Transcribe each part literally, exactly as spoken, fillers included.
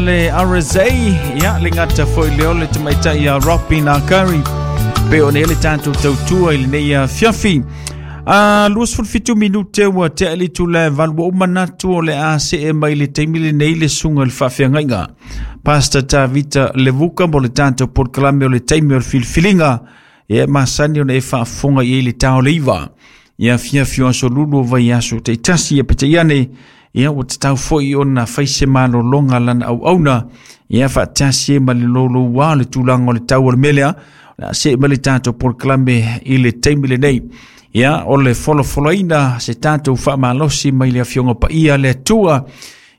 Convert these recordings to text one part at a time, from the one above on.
Le R S A, ia le gata foi le ole tamaitai ia Robin Curry pe o ne le tatou tautua i lenei afiafi. A luasefulu fitu minute ua tea le itula e valu, ua ou manatu o le a see mai le taimi lenei le suga i le faafeagaiga Pastor Tavita Levuka mo le tatou polokalame o le taimi o le filifiliga. Ia masani ona e faafofoga i ai le tao le iva ia afiafi o aso lulu o vaiaso taitasi, ia peitai ane ia ua tatau foi ona fai se malologa lana auauna ia faatasi ai ma le louloua o le tulaga o le tau o le mea lea. O le a see mai le tatou polokalame i le taimi lenei. Ia o le folafolaina se tatou faamalosi mai le afioga paia le Atua.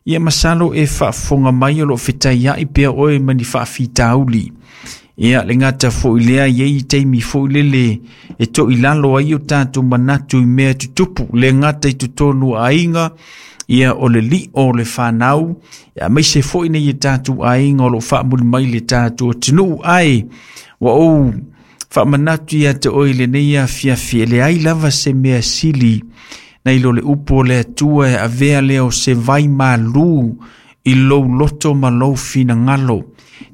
Ia masalo e faafofoga mai o loo fetaiai pea oe ma ni faafitauli. Ia le gata foi lea i ai taimi foi lele e toilalo ai o tatou manatu i mea tutupu, le gata i totonu o aiga, ia o le lio o le fanau, ia aemaise foi nei e tatou aiga o loo faamuli mai le tatou atunuu. Ae ua ou faamanatu ia te oe i lenei afiafi, e leai lava se mea sili nai lo le upu o le Atua e avea lea o se vai malu i lou loto ma lou finagalo.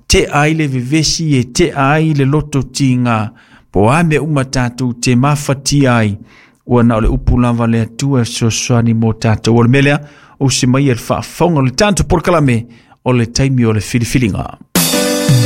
Tea ai le vevesi e tea ai le loto tiga, po a mea uma tatou te mafatia ai, ua na o le upu lava le Atua e fesoasoani mo tatou. O le mea lea, o se mai e le faafofoga o le tatou polokalame o le taimi o le filifiliga.